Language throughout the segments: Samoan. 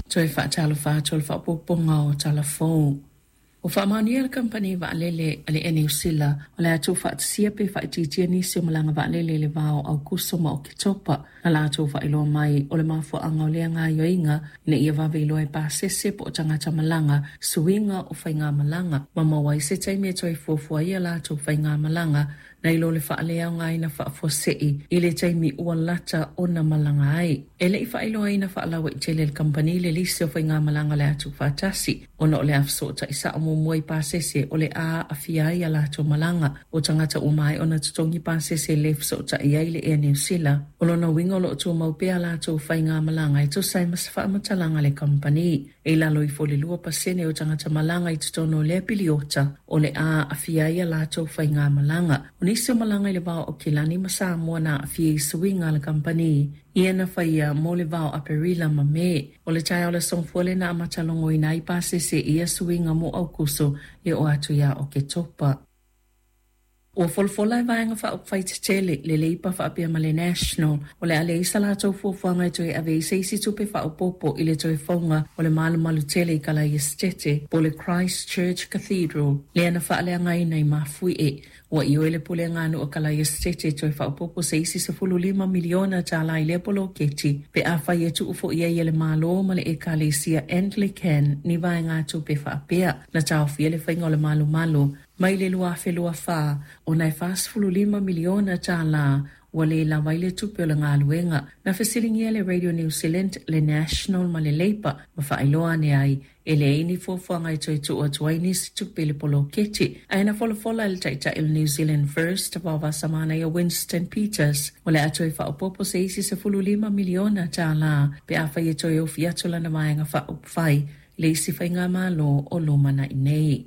Toe faatalofa atu o le faaopoopoga o Tala Fou. Ua faamaonia le kamupani vaalele a le Air Niu Sila o le a tuufaatasia pe faaitiitia nisi o malaga vaalele i le va o Aokuso ma Oketopa. Na latou faailoa mai o le mafuaaga o lea gaoioiga ina ia vave iloa e pasese po o tagata malaga suiga o faigamalaga ma maua ai se taimi e toe fuafua ai a latou faigamalaga nai lo le faaleaogaina faafuasei i le taimi ua lata ona malaga ai. E le i faailoaina faalauaitele e le kamupani le lisi o faigamalaga o le a tuufaatasi, ona o le a fesootai sao muamua i pasese o le a aafia ai a latou malaga. O tagata ua maea ona totogi pasese e le fesootai ai le Air Niu Sila. O lona uiga o lo o tumau pea a latou faigamalaga e tusa ai ma se faamatalaga a le kamupani. E i lalo ifo o le 2% o tagata malaga i totonu o lea piliota o le a aafia ai a latou faigamalaga. O nisi o malaga i le va o Aukilani ma Samoa na aafia i suiga a le kamupani ia na faia mo le va o Aperila ma Me. O le taeao o le Aso Gafua lea na amata logoina ai pasese i ia suiga mo Aokuso e oo atu ia Oketopa. Ua folafola e Vaega Faaupufai Tetele le Leipa faapea ma le National o le a leai sa latou fuafuaga e toe ave ai se isi tupe faaopoopo i le toe fouga o le malumalu tele i Kalaesetete po o le Christ Church Cathedral lea na faaleagaina i Mafuie. Ua ioe le Pulega a Nuu o Kalaesetete e toe faaopoopo se isi $15 miliona i lea poloketi pe afai e tuu foi ai e le Malo ma le Ekalesia Anglican ni vaegatupe faapea. Na taofia le faiga o le malumalu mai le 2024 ona e $45 miliona ua le lava ai le tupe o le galuega. Na fesiligia le Radio New Zealand, le National ma le Labour ma faailoa ane ai e leai ni fuafuaga e toe tuu atu ai nisi tupe i le poloketi. Ae na folafola e le Taitai o le New Zealand First, Vaovasamanaia Winston Peters, o le a toe faaopoopo se isi $15 miliona pe afai e toe ofi atu lana Vaega Faaupufai i le isi faigamalo o lumanai nei.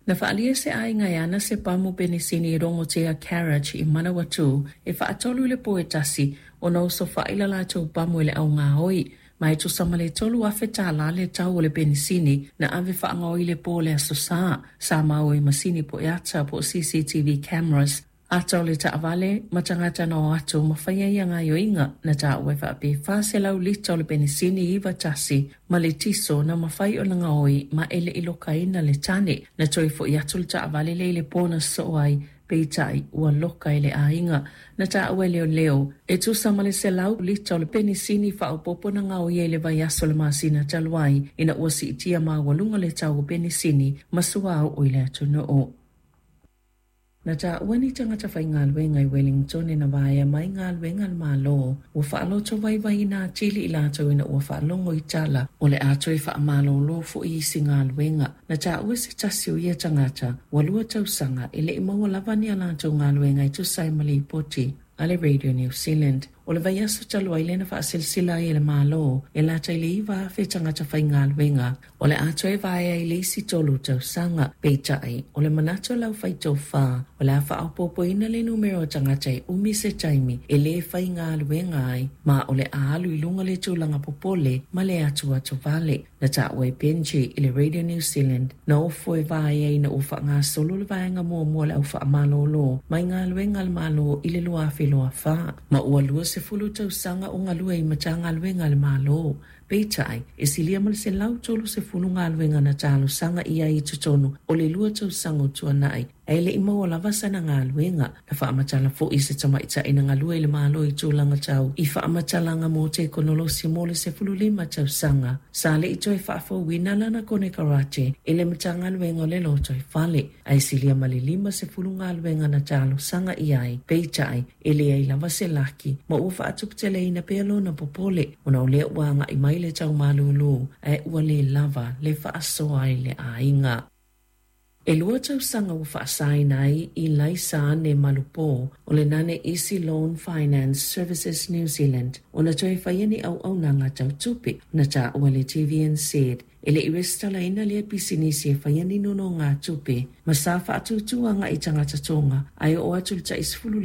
Na faaalia se aiga e ana se pamu penisini i Rongotea Carriage i Manawatū e faatolu i le po e tasi ona osofai la latou pamu e le augaoi ma e tusa ma le $3,000 le tau o le penisini na ave faagaoi i le po o le Aso Sa. Sa maua i masini poe ata po o CCTV cameras ata o le taavale ma tagata na o atu ma faia ia gaoioiga. Na taua e faapea e 400 lita o le penisini 91 ma le tiso na mafai ona gaoi ma e le i lokaina le tane. Na toe foi atu le taavale lea i le po na sosoo ai, peitai ua loka e le aiga. Na taua e leoleo e tusa ma le 100 lita o le penisini faaopoopo na gaoia i le vaiaso o le masina talu ai ina ua siitia maualuga le tau o penisini ma suauu i le atunuu. Na taua ni tagata faigaluega i Wellington na vaea mai galuega a le Malo ua faaloto vaivaiina atili i latou ina ua faalogo i tala o le a toe faamalōlō foi isi galuega. Na taua se tasi o ia tagata ua 2 tausaga e le i maua lava ni a latou galuega e tusa ai ma lipoti a le Radio New Zealand. O le vaiaso talu ai lea na faaselasela ai e le Malo e lata i le 9,000 tagata faigaluega o le a toe vaea i le isi 3 tausaga. Peitai, o le manatu o le aufaitofa o le a faaopoopoina le numera o tagata e umi se taimi e lē faigaluega ai ma o le a alu i luga le tulaga popole ma le atuatu vale. Na taua e Benji i le Radio New Zealand na ofo e vaea ina ua faagasolo le vaega muamua o le au faamalōlō mai galuega a le Malo i le 2024 ma ua 20 tausaga o galue i Matagaluega a le Malo. Peitai, e silia ma le 130 galuega na talosaga i ai i totonu o le 2 tausaga o tuanai ae le i maua lava sana galuega. Na faamatala foi se tamaitai na galue i le Malo i tulaga tau i faamatalaga mo tekonolosi mo le 15 tausaga sa le i toe faafouina lana konekarate i le Matagaluega o le Lotoifale ae silia ma le 50 galuega na talosaga i ai. Peitai, e leai lava se laki ma ua faatuputeleina pea lona popole ona o lea ua agai mai le tau malūlū ae ua lē lava le faasoa ai le aiga. E 2 tausaga ua faasaina ai i Laisa Ane Malupo o le Nane Easy Loan Finance Services New Zealand ona toe faia ni auaunaga tau tupe. Na taua le TVNZ e le i resitalaina lea pisinisi e faia ni nonogatupe ma sa faatūtū agai tagata Tonga ae oo atu le tai